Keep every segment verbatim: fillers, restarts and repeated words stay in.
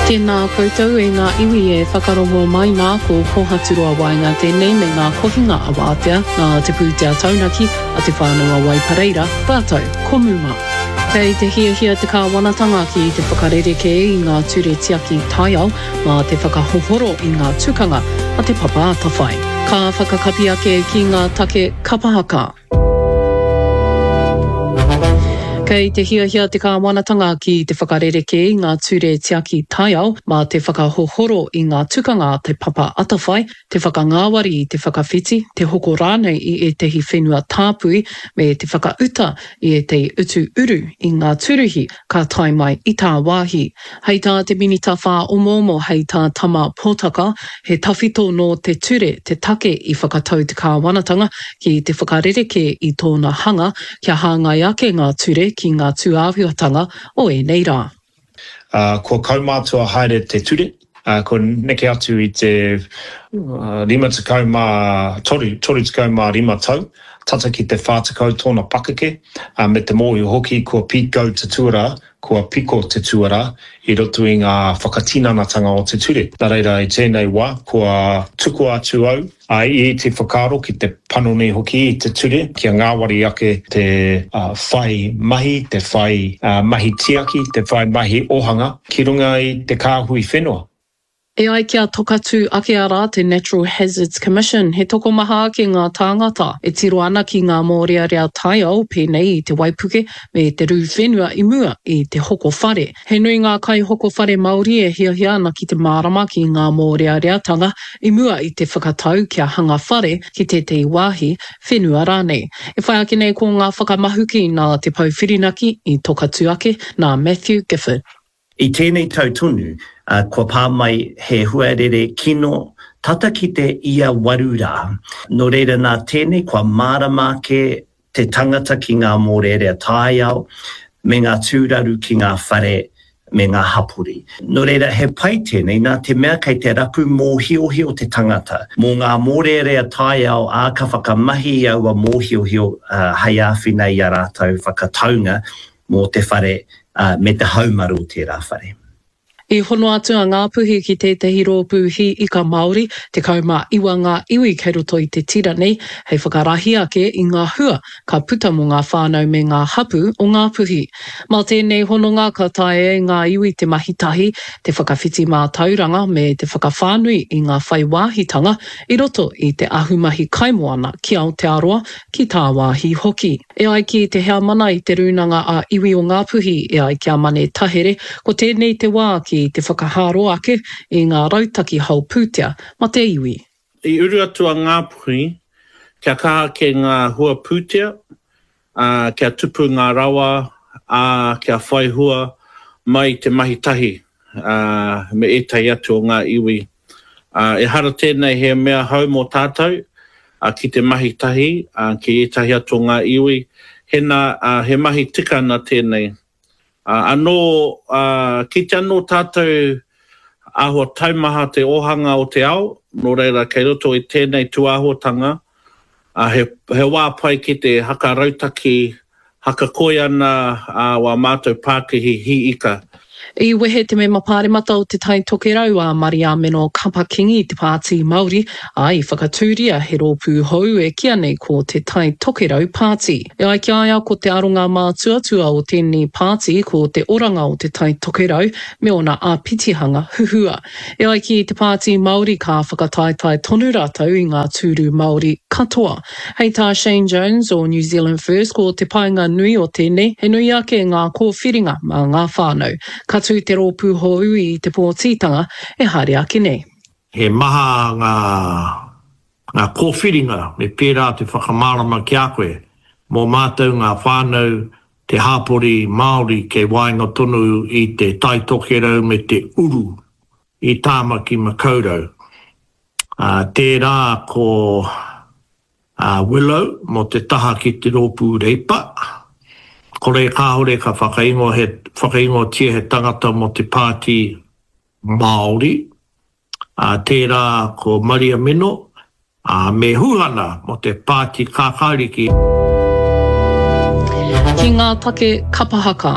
Tēnā koutou e ngā iwi e whakarongo mai nā ko Kohaturoa Waenga tēnei me ngā kohinga a Wātea nā Te Pūtea Taunaki a Te Whānau a Waipareira rātou ko Muma. Kei te hiahia te kāwanatanga ki te whakarerekē i ngā ture tiaki taiao mā te whakahohoro i ngā tukanga a Te Papa Atawhai. Ka whakakapi ake ki ngā take kapahaka. Kei te hiahia te kāwanatanga ki te whakarerekē i ngā ture tiaki taiao mā te whakahohoro i ngā tukanga a Te Papa Atawhai, te whakangāwari i te whakawhiti, te hoko rānei i ētahi whenua tāpui me te whakauta i ētahi utu uru i ngā tūruhi ka tae mai i tāwāhi. Hei tā te Minita Whāomoomo, hei tā Tama Potaka, he tawhito nō te ture te take i whakatau te kāwanatanga ki te whakarerekē i tōna hanga kia hāngai ake ngā ture ki ngā tūāhuatanga o ēnei rā. Uh, kua kaumātua haere te ture, uh, kua neke atu i te uh, rima tekau mā toru, toru tekau mā rima tau, tata ki te whā tekau tōna pakeke, uh, me te mōhio hoki kua pīkau te tuarā, kua piko te tuarā i roto i ngā whakatinanatanga o te ture. Nā reira i tēnei wā, kua tukua atu au a i te whakaaro ki te panoni hoki i te ture, kia ngāwari ake te uh, whai mahi, te whai uh, mahi tiaki, te whai mahi ohanga ki runga i te kāhui whenua. E ai ki a Tokatū ake arā te Natural Hazards Commission, he tokomaha ake ngā tāngata e tiro ana ki ngā mōrearea taiao pēnei i te waipuke me te rū whenua i mua i te hoko whare. He nui ngā kaihoko whare Māori e hiahia ana ki te mārama ki ngā mōreareatanga i mua i te whakatau kia hanga whare ki tētahi wāhi whenua rānei. E whai ake nei ko ngā whakamahuki nā Te Pou Whirinaki i Tokatū ake nā Matthew Gifford. I tēnei tau tonu, uh, kua pā mai he huarere kino tata ki te ia waru rā. Nō reira nā tēnei kua mārama ake te tangata ki ngā mōrearea taiao, me ngā tūraru ki ngā whare me ngā hapori. Nō reira he pai tēnei nā te mea kei te rapu mōhiohio te tangata. Mō ngā mōrearea taiao ā ka whakamahi i aua mōhiohio uh, hei āwhina i a rātou whakataunga mō te whare uh, me te haumaru o tērā whare. I hono atu a Ngāpuhi ki tētahi rōpū hī ika Māori, tekau mā iwa ngā iwi kei roto i te tira nei, hei whakarahi ake i ngā hua ka puta mō ngā whānau me ngā hapū o Ngāpuhi. Mā tēnei hononga ka taea e ngā iwi te mahi tahi, te whakawhiti mātauranga me te whakawhānui i ngā whai wāhitanga i roto i te ahumahi kaimoana ki Aotearoa, ki tāwāhi hoki. E ai ki te heamana i te rūnanga a iwi o Ngāpuhi, e ai ki a Mane Tahere, ko tēnei te wā ki te whakahāro ake i ngā rautaki hao pūtea ma te iwi. I uru atu a Ngāpuhi kia kaha ake ngā hua pūtea, ā, kia tupu ngā rawa, ā, kia whai hua mai te mahi tahi ā, me ētahi atu o ngā iwi. Ā, ehara tēnei he mea hou mō tātou, ā, ki te mahi tahi ā, ki ētahi atu o ngā iwi, hena, ā, he mahi tika ana tēnei. Ā, anō, ā, kite anō tātou āhua taumaha te ōhanga o te ao, nō reira kei roto i tēnei tūāhuatanga, ā, he, he wā pai ki te haka rautaki, haka koi ana ā, wā mātou pākihi hī ika. I wehe te mema pāremata o Te Tai Tokerau a Mariameno Kapa-Kingi i te Pāti Māori, ā, i whakatūria he rōpū hou e kīia nei ko Te Tai Tokerau Pāti. E ai ki a ia ko te aronga mātuatua o tēnei pāti ko te oranga o Te Tai Tokerau me ōna āpitihanga huhua. E ai ki te Pāti Māori ka whakataetae tonu rātou i ngā tūru Māori katoa. Hei tā Shane Jones o New Zealand First ko te painga nui o tēnei he nui ake ngā kōwhiringa mā ngā whānau. Ka tū te rōpū hou i te pōtitanga e haere ake nei. He maha ngā, ngā kōwhiringa me pērā te whakamārama ki a koe, mō mātou ngā whānau, te hāpori Māori kei waenga tonu i te Tai Tokerau me te uru i Tāmaki Makaurau. Ā, tērā ko a Willow mō te taha ki te rōpū Reipa. Kore kāore ka whakaingoa he, whakaingoatia he tangata mō te Pāti Māori. Ā, tērā ko Maria Mino, ā, me Huhana mō te Pāti Kākāriki. Ki Ki ngā take kapa haka.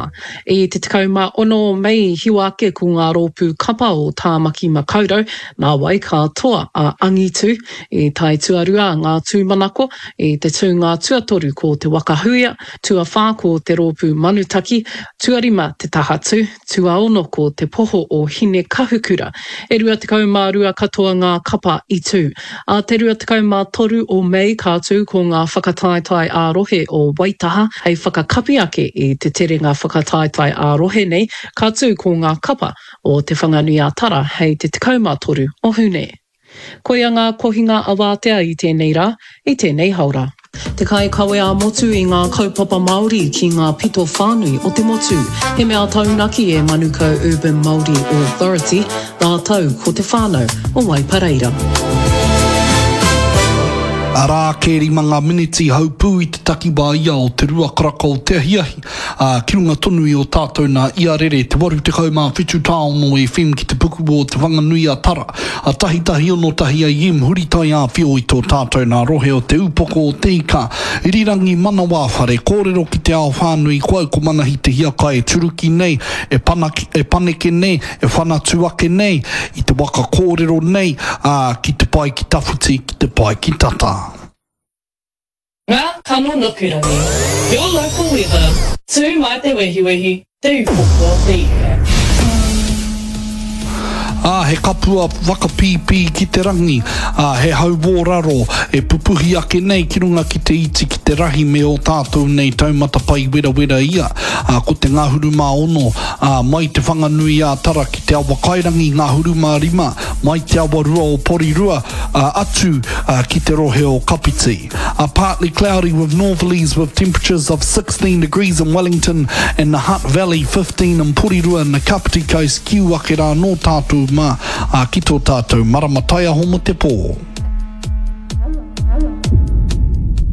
I te tekau mā ono o Mei i hiwa ake ko ngā rōpū kapa o Tāmaki Makaurau, nāwai ka toa a Angitu. I tae tuarua ngā tūmanako, i te tūnga tuatoru ko Te Waka Huia, tuawhā ko te rōpū Manutaki, tuarima Te Tahatū, tuaono ko Te Poho o Hinekahukura. E rua tekau mā rua katoa ngā kapa i tū. Ā te rua tekau mā toru o Mei ka tū ko ngā whakataetae ā-rohe o Waitaha hei whakakapi ake i te terenga whakataetae ā-rohe nei, ka tū ko ngā kapa o Te Whanganui-a-Tara hei te tekau mā toru o Hune. Koia ngā kohinga awātea i tēnei rā, i tēnei haora. Te kaikawe ā-motu i ngā kaupapa Māori ki ngā pito whānui o te motu. He mea taunaki e Manukau Urban Māori Authority rātou ko te whānau o Waipareira. Arā ake rima ngā miniti haupū i te takiwā ia o te rua karaka o te ahiahi, ā, ki runga tonu i ō tātou nā iarere te waru tekau mā whitu tāono FM ki te puku o Te Whanganui-a-Tara, a tahi tahi ono tahi AM huri taiāwhio i tō tātou nā rohe o Te Ūpoko o Te Ika, Irirangi Manawa Whare kōrero ki te ao whānui ko au ko Manahi Te Hiakai e turuki nei, e panaki, e paneke nei, e whanatu ake nei i te waka kōrero nei, ā, ki te pae ki tawhiti, ki te pae ki tata. Ngā kano nukurangi, Your local weather, Tū mai te wehiwehi, Te Ūpoko o Te Ika. Ā, he kapua whakapīpī ki te rangi, ā, he hau wōraro e pupuhi ake nei ki runga ki te iti, ki te rahi me ō tātou nei taumata pai werawera ia, ā, ko te ngahuru mā ono, ā, mai Te Whanganui-ā-Tara ki Te Awakairangi, ngahuru mā rima, mai Te Awarua o Porirua, ā, atu, ā, ki te rohe o Kapiti. A partly cloudy with northerlies with temperatures of sixteen degrees in Wellington and the Hutt Valley, fifteen in Porirua and the Kapiti Coast, kiu ake rā nō tātou mā, ā, ki tō tātou marama taiaho mō te pō.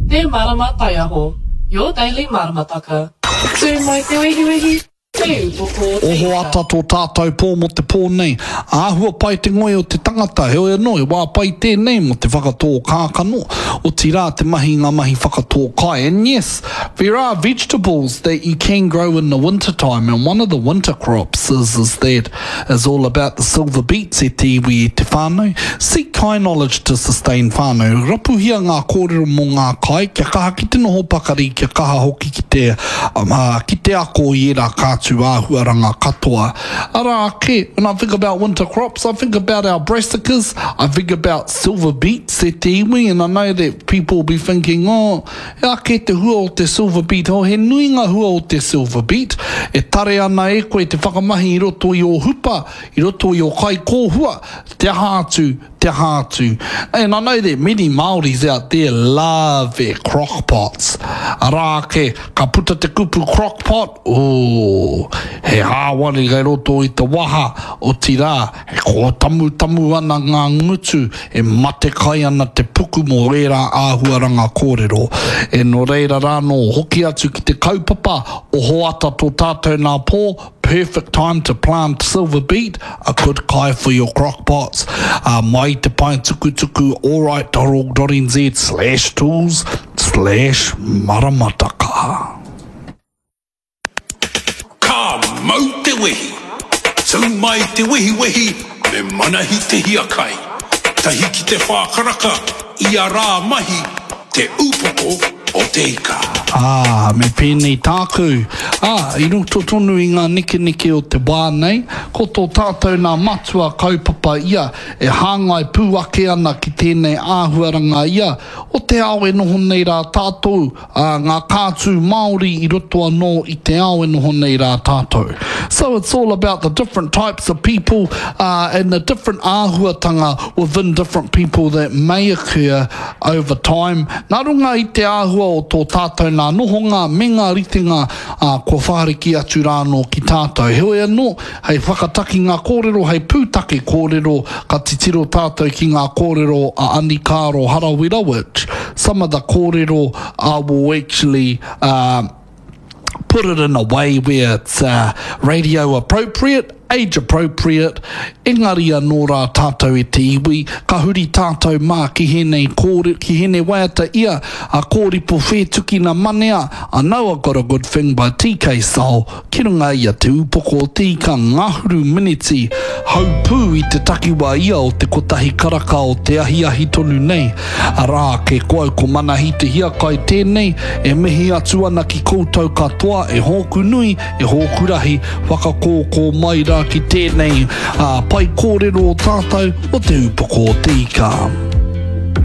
Te Marama Taiaho, your daily maramataka. Tū mai te wehiwehi, Te upoko o te Oho ika. ata tō tātou pō mō te pō nei. Āhua pai te ngoi o te tangata, heoi anō, he wā pai tēnei mō te whakatō kākano, otirā te mahi i ngā mahi whakatō kai. And yes, there are vegetables that you can grow in the winter time, and one of the winter crops is, is that is all about the silver beets e te iwi e te whānau. Seek kai knowledge to sustain whānau. Rapuhia ngā kōrero mō ngā kai, kia kaha ki te noho pakari, kia kaha hoki ki te, ā, ki te ako i ērā kātū āhuaranga katoa. Arā ake, when I think about winter crops, I think about our brassicas, I think about silver beets e te iwi, and I know that people will be thinking, oh, he aha kē te hua o te silver beet? Oh, he nui ngā hua o te silver beet, e tare ana e koe te whakamahi i roto i ō hupa, i roto i ō kai kōhua, te aha atu, te aha atu. And I know that many Māoris out there love their crock pots. Arā ake, ka puta te kupu crock pot, ooh, he hāwari kei roto i te waha, otirā, e kōtamutamu ana ngā ngutu, e matekai ana te puku mō ērā āhuaranga kōrero. E nō reira rānō, hoki atu ki te kaupapa, oho ata tō tātou nā pō, perfect time to plant silver beet, a good kai for your crock pots, ā, mai te pae tukutuku alright dot org dot nz slash tools slash maramataka. Ka mau te wehi! Tū mai te wehiwehi me Manahi Te Hiakai. Tahi ki te whā karaka, ia rā mahi, Te Ūpoko o Te Ika. Ā, me pēnei tāku, ā, i roto tonu i ngā nekeneke o te wā nei, ko tō tātou nā matua kaupapa ia e hāngai pū ake ana ki tēnei āhuaranga ia o te ao e noho nei rā tātou, ā, ngā kātū Māori i roto anō i te ao e noho nei rā tātou. So it's all about the different types of people, ā, and the different āhuatanga within different people that may occur over time, nā runga i te āhua o tō tātou nā nohonga me ngā ritenga, ā, kua whāriki atu rā anō ki tātou. Heoi anō, hei whakatakinga kōrero, hei pūtake kōrero, ka titiro tātou ki ngā kōrero a Anikaro Harawira which some of the kōrero I will actually, uh, put it in a way where it's uh, radio appropriate, age appropriate, engari anō rā tātou e te iwi, ka huri tātou mā ki hēnei kōre, ki hēnei waiata ia a Kōripo Whētukina Manea, I know I got a good thing by TK Soul, ki runga i a Te Ūpoko o Te Ika ngahuru miniti, haupū i te takiwā ia o te kotahi karaka o te ahiahi tonu nei. Arā ake ko au ko Manahi Te Hiakai tēnei e mihi atu ana ki koutou katoa e hōku nui, e hōku rahi, whakakōkō mai rā ki tēnei pae kōrero o tātou o Te Ūpoko o Te Ika.